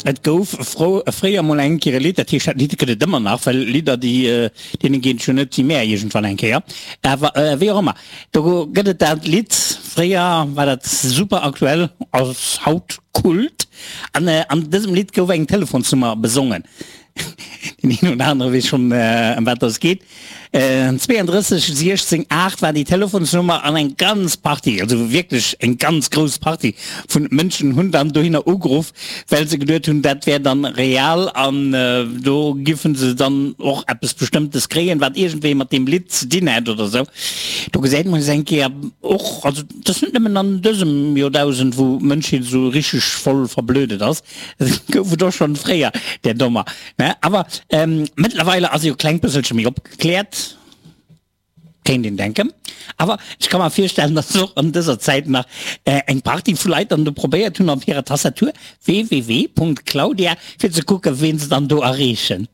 Et gouf fréier mol eng Kéier e Lidd, dat heescht dat Lidd gëtt et ëmmer nach, well Lidder déi deene geet et jo net wéi mär iergendwann eng Kéier, awer wéi och ëmmer, do gëtt et dat Lidd, fréier war dat super aktuell, ass haut Kult, an an dësem Lidd gouf eng Telefonsnummer besongen. Deen een oder anere weess schonn ëm wat dass geet. 32 16 8 war déi Telefonsnummer an eng ganz Partie, also wierklech eng ganz grouss Partie vun Mënschen hunn dann dohinner ugeruff, well se geduet hunn, dat wär dann real an do giffen se dann och eppes Bestëmmtes kréien, wat iergendwéi mat deem Lidd ze dinn hätt oder esou. Do gesäit mer es eng Kéier och, also et ass net nëmmen an dësem Joerdausend, wou d'Mënschheet esou richteg voll verblödet ass, Gouf et och schon fréier där Dommer, ne? Awer mëttlerweile ass e jo kleng bësselche méi opgekläert, kéint een denken. Awer ech ka mer virstellen, datt och an dëser Zäit nach eng Partie vu Leit dann do probéiert hunn op hirer Tastatur www.claudia fir ze kucken, ween se dann do erreechen.